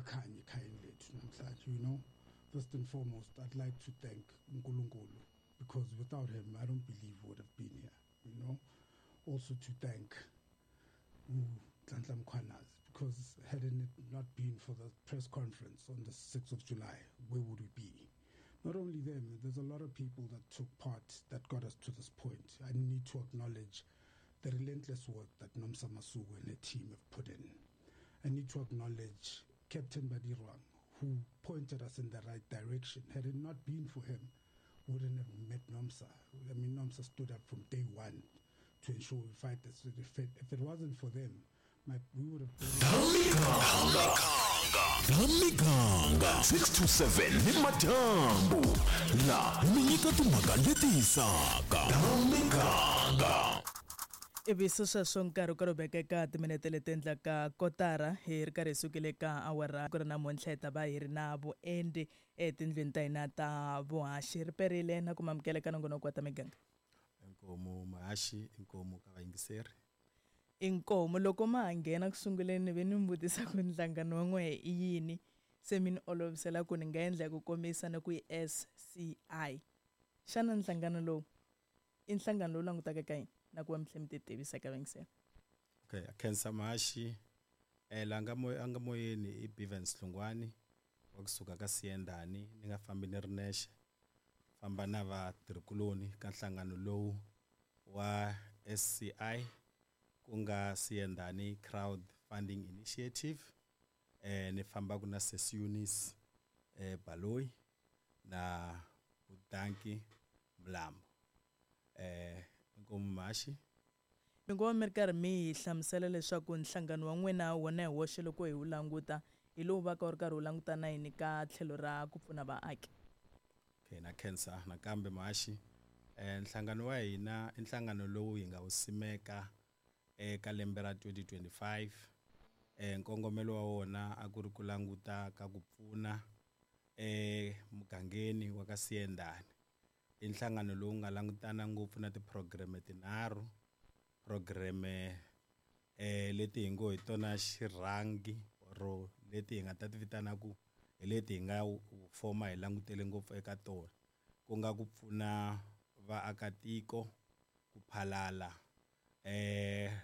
Kuyakhanya ekhayeni lethu namhlanje. First and foremost, I'd like to thank uNkulunkulu, because without him, I don't believe we would have been here. Also to thank Nhlanhla Mkhwanazi, because had it not been for the press conference on the 6th of July, where would we be? Not only them, there's a lot of people that took part that got us to this point. I need to acknowledge the relentless work that Nomsa Masuku and her team have put in. I need to acknowledge Captain Badirwang, who pointed us in the right direction. Had it not been for him, we wouldn't have met Nomsa. I mean, Nomsa stood up from day one to ensure we fight this. If it wasn't for them, we would have been... Miganga 6 to 7 ni madyambu la mi nyika timhaka leti hisaka Miganga. Ivi sweswo nkarhi ku ri eka timinete leti endlaka kotara hi ri karhi hi sukile ka awara ku ri namuntlha hi ta va hi ri na vuendli etindlwini ta hina ta vuhaxi. Ri perile na ku mamukela ka nongonoko wa ta miganga. Inkomu muhaxi, inkomu ka vayingiseri. Inkomu loko ma ha nghena ku sunguleni ve ni mi vutisa ku nhlangano wa n'wehe i yini, se mi ni olovisela ku ni nga endla hi ku komisa ni ku i SCI. Xana nhlangano lowu i nhlangano lowu langutaka ka yini na ku va mi tlhela mi ti tivisa ka vayingiseri? Okay, khensa muhaxi. La nga a nga moyeni i Bivens Hlungwani wa kusuka ka Siyendani. Ni nga fambi ni ri nexe, famba na vatirhikuloni ka nhlangano lowu wa SCI, ku nga Siyendani Crowd Funding Initiative. Ni fambaka na Sesi Eunice Baloyi na Budanki Mlambo. Inkomu muhaxi. Mi ngo mi ri karhi mi hi hlamusela leswaku nhlangano wa n'wina wona hi woxe loko hi wu languta hi lowu va ka wu ri karhi wu languta na yini ka tlhelo ra ku pfuna vaaki? Okay, na khensa nakambe muhaxi. Nhlangano wa hina i nhlangano lowu hi nga wu simeka eka lembe ra 2025. Nkongomelo wa wona a ku ri ku languta ka ku pfuna mugangeni wa ka Siyendani. I nhlangano lowu nga langutana ngopfu na ti-program tinharhu. Program leti hi ngo hi tona xirhangi ro leti hi nga ta ti vitana ku hi leti hi nga foma hi langutele ngopfu eka tona, ku nga ku pfuna vaakatiko ku phalala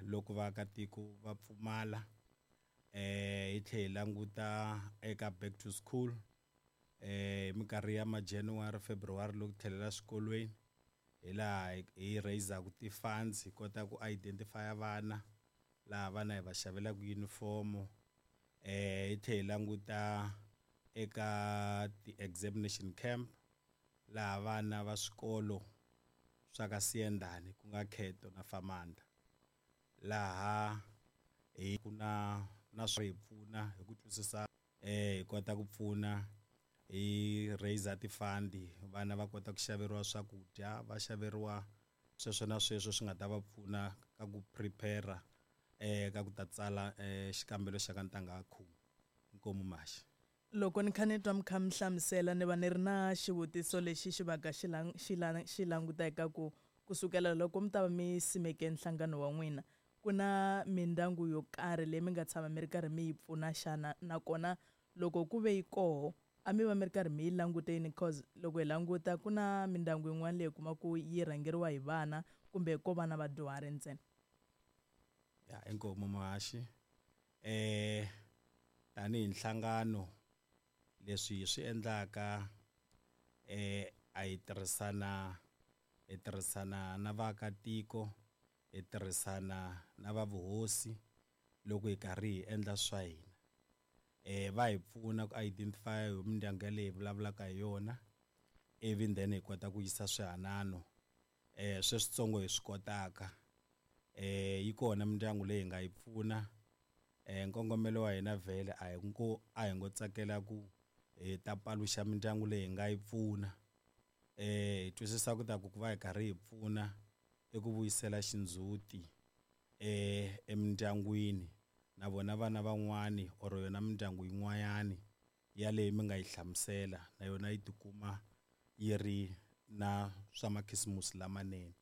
loko vaakatiko va pfumala. Hi tlhela hi languta eka back to school hi minkarhi ya ma January, February loko tlhelela swikolweni, hi laha hi raise-aku ti-funds hi kota ku identify vana, laha vana hi va xavelaka uniform. Hi tlhela hi languta eka ti-examination camp, laha vana va swikolo swa ka Siyendani ku nga Kheto na Famanda, laha hi ku na swi hi pfuna hi ku twisisa hi kota ku pfuna hi raise ti-fund, vana va kota ku xaveriwa swakudya, va xaveriwa sweswo na sweswo swi nga ta va pfuna ka ku prepare ka ku ta tsala xikambelo xa ka ntangha khume. Inkomu muhaxi. Loko ni kha ni twa mi kha mi hlamusela ni va ni ri na xivutiso lexi xi va ka xi languta eka ku kusukela loko mi ta va mi simeke nhlangano wa n'wina, ku na mindyangu yo karhi leyi mi nga tshama mi ri karhi mi yi pfuna xana? Nakona loko ku ve yi koho, a mi va mi ri karhi mi yi languteni? Cause loko hi languta ku na mindyangu yin'wana leyi kuma ku yi rhangeriwa hi vana kumbe ko va na vadyuhari ntsena. Ya, inkomu muhaxi. Tanihi nhlangano leswi hi swi endlaka a hi tirhisana, hi tirhisana na vaakatiko, hi tirhisana na va vuhosi loko hi karhi hi endla swa hina. Va hi pfuna ku identify hi mindyangu yaleyi hi vulavulaka hi yona, ivi then hi kota ku yisa swihanano sweswitsongo hi swi kotaka. Yi kona mindyangu leyi hi nga yi pfuna. Nkongomelo wa hina vhele a hi ngo tsakela ku hi ta paluxa mindyangu leyi hi nga yi pfuna. Hi twisisa ku ta ku va hi karhi hi pfuna i ku vuyisela xindzhuti emindyangwini, na vona vana van'wani or yona mindyangu yin'wanyani yaleyi mi nga yi hlamusela na yona yi tikuma yi ri na swa makhisimusi lamanene.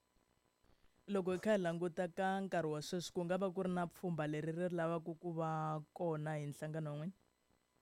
Loko hi kha hi languta ka nkarhi wa sweswi, ku nga va ku ri na pfhumba leri ri lavaka ku va kona hi nhlangano wa n'wina?